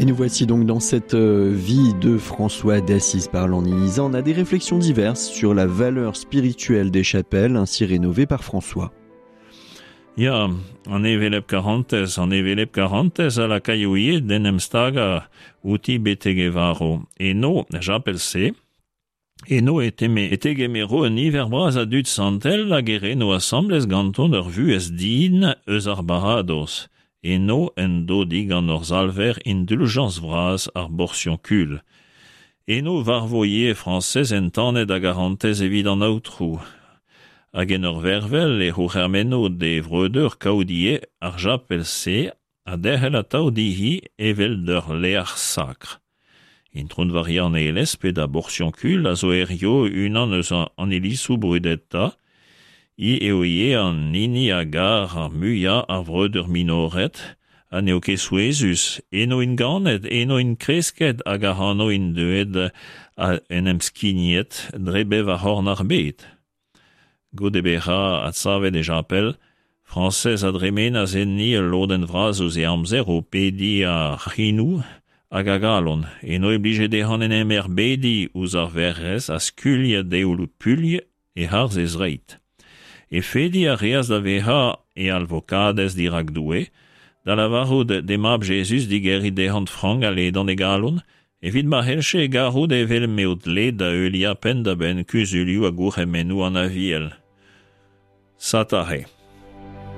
Et nous voici donc dans cette euh, vie de François d'Assise par l'En a des réflexions diverses sur la valeur spirituelle des chapelles ainsi rénovées par François. Ya, an hevelep karantez, an hevelep karantez a lakaio ivez d'en em stagañ outi betek e varv. Eno, er chapel-se, eno e teme, e tegemero un niver bras a dud santel hag e reno asambles ganton ur vuhez din eus ar baradoz. Eno en do digant hor Salver induljañs vras ar borsionkul. Eno varvo ivez Frañsez entanet a garantez evit an Aotrou. Hag en ur vervel e c'hourc'hemenno d'e vreudeur kaout ivez ar chapel-se ha derc'hel atav dezhi evel d'ur lec'h sakr. Intron Varia an Aelez pe da Borsionkul a zo hiziv unan eus an ilizoù brudetañ. Hi eo ivez an hini a gar ar muiañ ar vreudeur minored ha n'eo ket souezhus. Eno int ganet, eno int kresket hag ac'hano int deuet en em skignet dre bevar c'horn ar bed. Goude bezañ adsavet e chapel, Frañsez a dremenas enni ul lodenn vras eus e amzer o pediñ a c'henoù hag a galon. Eno e blije dezhañ en em erbediñ ouzh ar Werc'hez ha skuilhañ deoù puilh e-harz he zreid. He fediñ a reas da vezañ e alvokadez dirak Doue, da lavarout d'he mab Jezuz digeriñ dezhañ frank ha ledan e galon, Evit ma c'hellje e garout evel m'eo dleet da heuliañ penn-da-benn kuzulioù ha gourc'hemennoù an Aviel. Satare.